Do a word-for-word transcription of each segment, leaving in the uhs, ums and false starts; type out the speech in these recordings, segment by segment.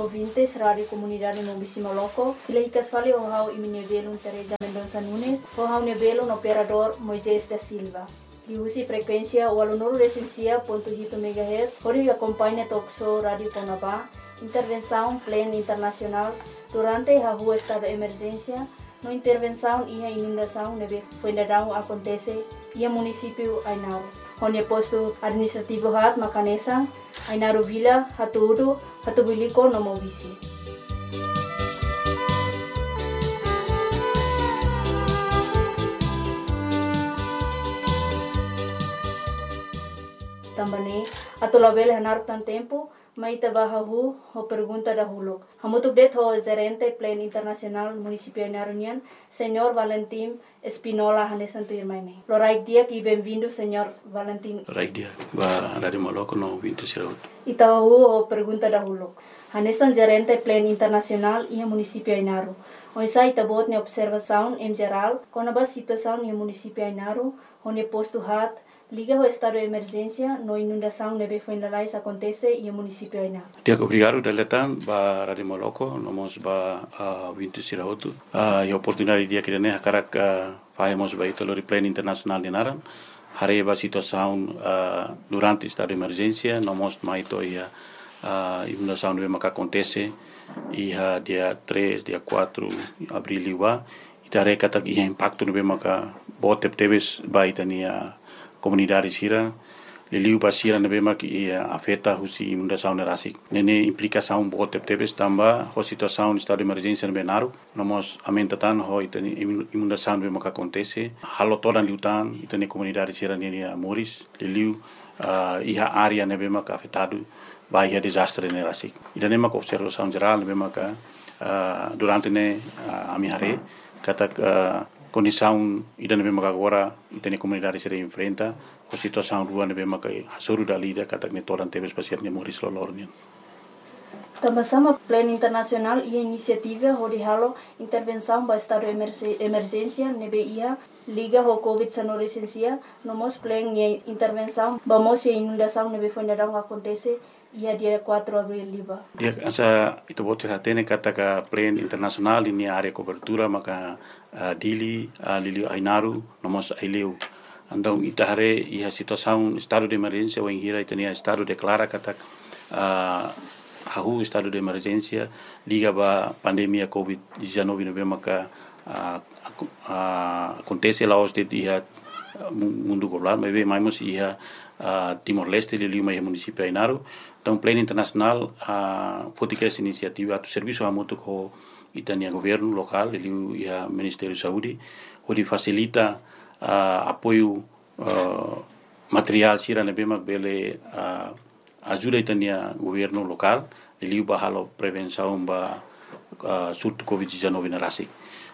Ouvintes Rádiu Komunidade Maubisse Moloko, fila hikas fali ho ha'u imi-nia belun Teresa Mendonça Nunes, ho ha'u-nia belun operadór Moisés da Silva. Liuhusi frekuénsia ualunulu resin sia pontu hitu megahertz, hodi akompaña talk show Rádiu Kona-ba intervensaun Plan Internasionál durante hahú estadu emerjénsia, no intervensaun iha inundasaun ne'ebé foin daudaun akontese iha munisípiu Ainaro. Ho nia postu administrativu haat mak hanesan Ainaro Vila, Hatu-Udo, Hatubuilico no Maubisse. Tanba ne'e, atu labele hanaruk tan tempu, mai ita bá hahú ho pergunta dahuluk. Hamutuk de'it ho Jerente Plan Internasionál Munisípiu Ainaro nian, Señór Valentim Espinola, hanesan tuirmai ne'e. Loraik di'ak i benvindu, Señór Valentim. Loraik di'ak ba Rádiu Moloko no ouvinte sira hotu. Ita hahú ho pergunta dahuluk. Hanesan Jerente Plan Internasionál iha Munisípiu Ainaro, oinsá ita-boot nia observasaun em jerál kona-ba situasaun iha Munisípiu Ainaro, ho nia postu haat, liga ho estadu emerjénsia no inundasaun ne'ebé foin lalais akontese iha Munisípiu Ainaro? Di'ak, obrigadu dala ida tan ba Rádiu Moloko, no mós ba, ah, ouvinte sira hotu. Ah, iha oportunidade di'ak ida-ne'e hakarak, ah, fahe mós ba ita lori Plan Internasionál nia naran, haree ba situasaun, ah, durante estadu emerjénsia, no mós mai to'o iha, ah, inundasaun ne'ebé maka akontese iha dia três, dia quatro abríl liubá. Ita haree katak iha impaktu ne'ebé maka boot tebetebes ba ita-nia komunidade sira, liuliu ba sira ne'ebé mak iha afeta husi inundasaun ne'e rasik. Ne'e, ne'e implikasaun boot tebetebes tanba ho situasaun estadu emerjénsia ne'ebé naruk, no mós aumenta tan ho ita-nia inun-, inundasaun ne'ebé maka akontese, halo todan liután ita-nia komunidade sira-nia, nia moris, liuliu, ah, iha área ne'ebé maka afetadu ba iha dezastre ne'e rasik. Ida-ne'e maka observasaun jerál ne'ebé maka, ah, durante ne'e, ah, ami haree katak, ah, kondisaun ida ne'ebé maka agora ita-nia komunidade sira enfrenta, ho situasaun rua ne'ebé maka hasoru dala ida katak ne'e todan tebes ba sira-nia moris loroloron nian. Tanba sá mak Plan Internasionál iha inisiativa hodi halo intervensaun ba estadu emerse-, emerjénsia ne'ebé iha liga ho Covid sanulu resin sia, no mós Plan nia intervensaun ba mós iha inundasaun ne'ebé foin daudaun akontese iha dia quatro abríl liubá? Di'ak, hanesan ita-boot sira hatene katak Plan Internasionál nia área kobertura maka, ah, Dili, ah, liuliu Ainaro, no mós Aileu. Entaun ita haree iha situasaun estadu de emerjénsia, wainhira ita-nia estadu deklara katak, ah, hahú estadu de emerjénsia liga ba pandemia Covid dezanove ne'ebé maka, ah, aku-, ah, akontese la'ós de'it iha, ah, mu-, mundu globál, maibé mai mós iha, ah, Timor-Leste, liuliu mai iha munisípiu Ainaro. Entaun Plan Internasionál, ah, foti kedas inisiativa atu servisu hamutuk ho ita-nia governu lokál, liuliu iha Ministériu Saúde, hodi fasilita, ah, apoiu, ah, materiál sira ne'ebé mak bele, ah, ajuda ita-nia governu lokál, liuliu ba halo prevensaun ba, ah, surtu Covid dezanove ne'e rasik.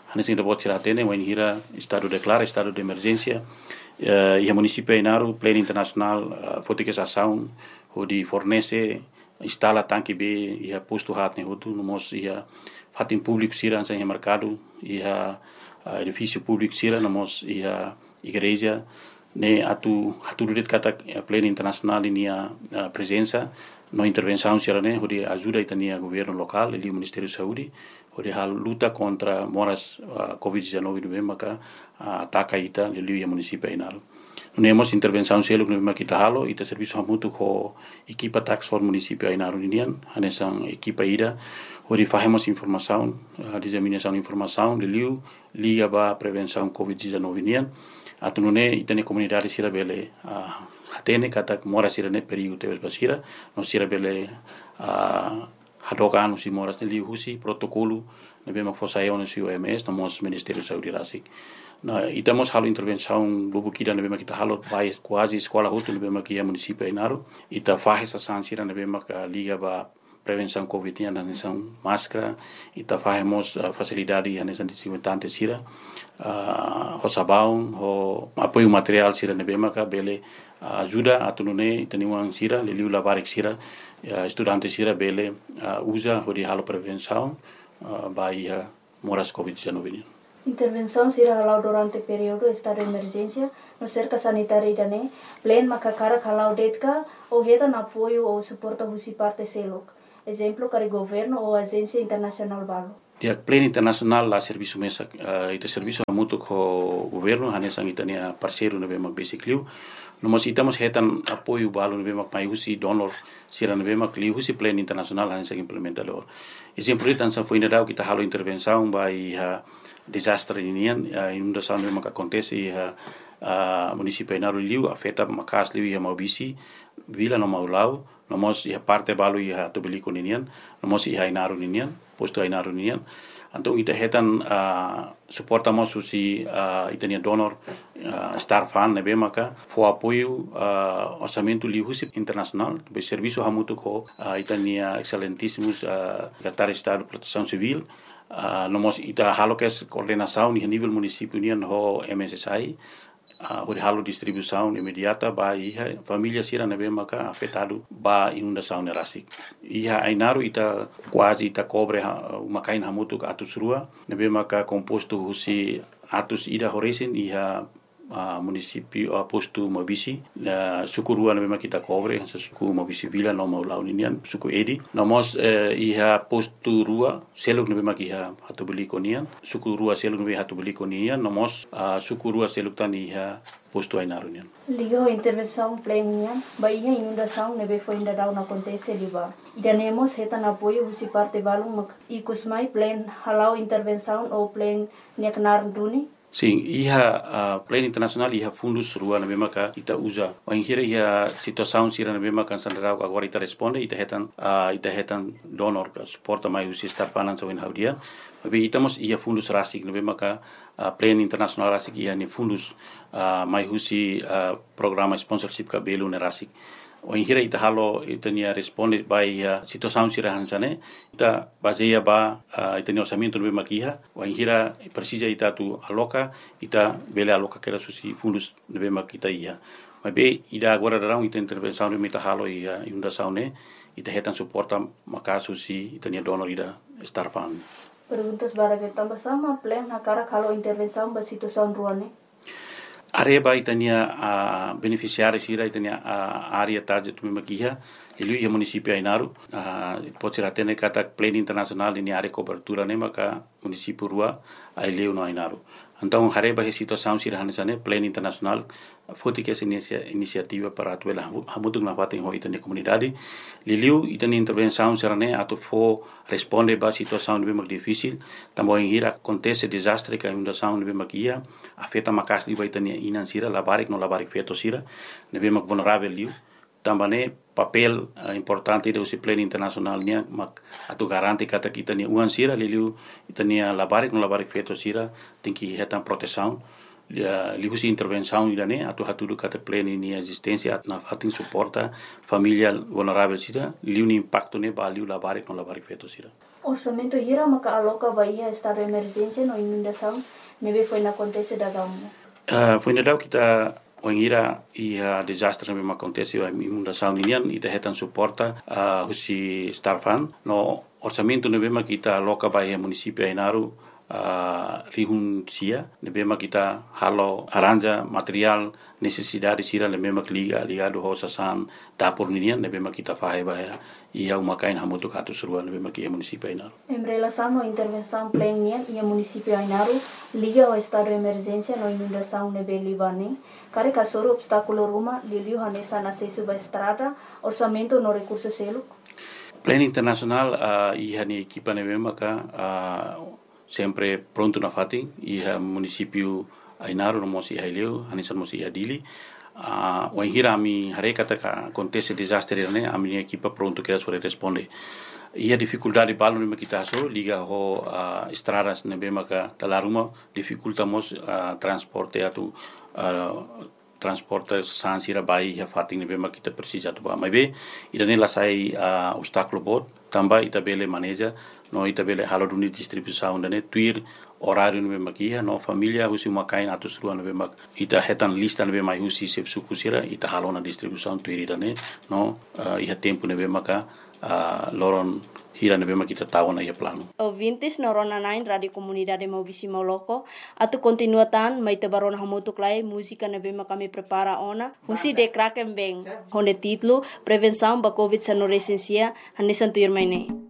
Hanesan ita-boot sira hatene, wainhira estadu deklara estadu de emerjénsia, eh, iha munisípiu Ainaro, Plan Internasionál, ah, foti kedas asaun, hodi fornese, instala tanke bee iha postu haat ne'e hotu, no mós iha fatin públiku sira, hanesan iha merkadu, iha, ah, edifísiu públiku sira, no mós iha igreja, ne'e atu hatudu de'it katak, eh, Plan Internasionál nia, ah, prezensa no intervensaun sira-ne'e hodi ajuda ita-nia governu lokál, liuliu Ministériu Saúde, hodi halo luta kontra moras, ah, Covid dezanove ne'ebé maka, ah, ataka ita, liuliu iha munisípiu Ainaro. Nune'e mós intervensaun seluk ne'ebé mak ita halo, ita servisu hamutuk ho ekipa Task Force Munisípiu Ainaro ninian, hanesan ekipa ida, hodi fahe mós informasaun, ah, diseminasaun informasaun, liuliu liga ba prevensaun Covid dezanove nian. Atu nune'e ita-nia komunidade sira bele, ah, hatene katak moras sira-ne'e perigu tebes ba sira, no sira bele, ah, hadook an husi moras ne'e liuhusi protokolu ne'ebé mak fó sai ona husi O M S, no mós Ministériu Saúde rasik. Ne'e, ita mós halo intervensaun lubuk ida ne'ebé mak ita halo ba kuaze eskola hotu ne'ebé mak iha munisípiu Ainaro. Ita fahe sasán sira ne'ebé mak, ah, liga ba prevensaun Covid nian, hanesan máskara, ita fahe mós, ah, fasilidade hanesan dezinfetante sira, ah, ho sabaun, ho apoiu materiál sira ne'ebé maka bele, ah, ajuda atu nune'e ita-nia oan sira, liuliu labarik sira, ah, estudante sira bele, ah, uza hodi halo prevensaun, ah, ba iha moras Covid dezanove nian. Intervensaun sira hala'o durante períodu estadu emerjénsia no serka sanitária ida-ne'e, Plan maka hakarak hala'o de'it ka ou hetan apoiu ou suporta husi parte seluk? Ezemplu, karik governu ou ajénsia internasionál balu. Di'ak, Plan Internasionál la servisu mesak, ah, ita servisu hamutuk ho governu, hanesan ita-nia parseiru ne'ebé mak besik liu. No mós ita mós hetan apoiu balu ne'ebé mak mai husi donor sira ne'ebé mak liuhusi Plan Internasionál hanesan implementadór. Ezemplu ida hanesan foin daudauk ita halo intervensaun ba iha dezastre ninian, ah, inundasaun ne'ebé mak akontese iha, ah, munisípiu Ainaro liu, afeta maka'as liu iha Maubisse, Vila no Maulau, no mós iha parte balu iha Hatubuilico ninian, no mós iha Ainaro ninian, postu Ainaro ninian. Entaun ita hetan, ah, suporta mós husi, ah, ita-nia donor, ah, Star Fund ne'ebé maka fó apoiu, ah, orsamentu liuhusi internasionál, be servisu hamutuk ho, ah, ita-nia Excelentísimus, ah, Sekretáriu Estadu Protesaun Sivíl, ah, no mós ita halo kedas koordenasaun iha nivel munisípiu nian ho M S S I, ah, hodi halo distribuisaun imediata ba iha família sira ne'ebé maka afetadu ba inundasaun ne'e rasik. Iha Ainaro ita kuaze ita kobre ha-, uma-kain hamutuk atus rua, ne'ebé maka kompostu husi atus ida ho resin iha, ah, munisípiu, ah, postu Maubisse, ah, suku rua ne'ebé maka ita kobre, hanesan suku Maubisse Vila no Maulau ninian, suku Edi. No mós, eh, iha postu rua seluk ne'ebé maka iha Hatubuilico nian, suku rua seluk ne'ebé Hatubuilico nian, no mós, ah, suku rua seluk tan iha postu Ainaro nian. Liga ho intervensaun Plan nian, ba iha inundasaun ne'ebé foin daudaun akontese liubá. Ida-ne'e mós hetan apoiu husi parte balun mak ikus mai Plan hala'o intervensaun ou Plan nia knaar duni. Sin, iha, ah, Plan Internasionál iha fundus rua ne'ebé maka ita uza. Wainhira iha situasaun sira ne'ebé maka hanesan daudauk agora ita responde, ita hetan, ah, ita hetan donor ka suporta mai husi Star Fund hanesan ohin ha'u dehan. Maibé ita mós iha fundus rasik ne'ebé maka, ah, Plan Internasionál rasik iha nia fundus, ah, mai husi, ah, programa sponsorship ka belun ne'e rasik. Wainhira ita halo ita-nia responde ba iha situasaun sira hanesan ne'e, ita bazeia ba, ah, ita-nia orsamentu ne'ebé maka iha, wainhira presiza ita atu aloka, ita bele aloka kedas husi fundus ne'ebé maka ita iha. Maibé ida agora daudaun ita intervensaun ne'ebé ita halo iha inundasaun ne'e, ita hetan suporta maka'as husi ita-nia donor ida Star Fund. Perguntas barak, tanba sá mak Plan hakarak halo intervensaun ba situasaun rua ne'e? Haree ba ita-nia, ah, benefisiáriu sira, ita-nia, ah, área target ne'ebé maka iha, liuliu iha munisípiu Ainaro, ah, pode ser hatene katak Plan Internasionál nia área kobertura ne'e maka munisípiu rua, Aileu no Ainaro. Entaun, haree ba iha situasaun sira hanesan ne'e, Plan Internasionál foti kedas inisia-, inisiativa para atu bele hamu-, hamutuk nafatin ho ita-nia komunidade. Liuliu ita-nia intervensaun sira ne'e atu fó responde ba situasaun ne'ebé mak difisil, tanba wainhira akontese dezastre ka inundasaun ne'ebé mak iha, afeta maka'as liu ba ita-nia inan sira, labarik no labarik-feto sira, ne'ebé mak vulneravel liu. Tanba ne'e papél, eh, importante ida husi Plan Internasionál nian mak atu garante katak ita-nia oan sira, liuliu ita-nia labarik no labarik-feto sira, tenke hetan protesaun. Lia, liuhusi intervensaun ida-ne'e atu hatudu katak Plan nia ezisténsia atu nafatin suporta família vulneravel sira, liu nia impaktu ne'e ba liu labarik no labarik-feto sira. Orsamentu hira maka aloka ba iha estadu emerjénsia no inundasaun ne'ebé foin akontese daudaun ne'e? Ah, foin daudauk ita, wainhira iha dezastre ne'ebé mak akontese, iha inundasaun ninian, ita hetan suporta, ah, husi Star Fund, no orsamentu ne'ebé mak ita aloka ba iha munisípiu Ainaro, ah, rihun sia, ne'ebé mak ita halo arranja materiál nesesidade sira ne'ebé mak liga, ligadu ho sasán dapur ninian, ne'ebé mak ita fahe ba iha, iha uma-kain hamutuk atus rua ne'ebé mak iha munisípiu Ainaro. Em relasaun ho intervensaun Plan nian iha munisípiu Ainaro, liga ho estadu emerjénsia no inundasaun ne'ebé liubá ne'e, karik hasoru obstákulu ruma, liuliu hanesan asesu ba estrada, orsamentu no rekursu seluk? Plan Internasionál, ah, iha nia ekipa ne'ebé maka, ah, sempre prontu nafatin, iha munisípiu Ainaro, no mós iha Aileu, hanesan mós iha Dili. Ah, wainhira ami haree katak akontese dezastre ne'e, ami-nia ekipa prontu kedas hodi responde. Iha difikuldade balu ne'ebé mak ita hasoru, liga ho, ah, estradas ne'ebé maka dala ruma difikulta mós, ah, transporte atu, ah, transporte sasán sira ba iha fatin ne'ebé mak ita presiza atu ba. Maibé, ida-ne'e la sai, ah, obstákulu boot, tanba ita bele maneja, no ita bele halo duni distribuisaun ida-ne'e tuir oráriu ne'ebé mak iha, no família husi uma-kain atus rua ne'ebé mak ita hetan lista ne'ebé mai husi xefe suku sira, ita halo ona distribuisaun tuir ida-ne'e, no, ah, iha tempu ne'ebé maka ah, loron hira ne'ebé mak ita tau ona iha planu. Ouvintes no rona-na'in Rádiu Komunidade Maubisi Mauloko, atu kontinua tan, mai ita bá rona hamutuk lai múzika ne'ebé mak ami prepara ona husi The Kraken Band, ho nia títulu Prevensaun ba Covid sanulu-resin-sia, hanesan tuirmai ne'e.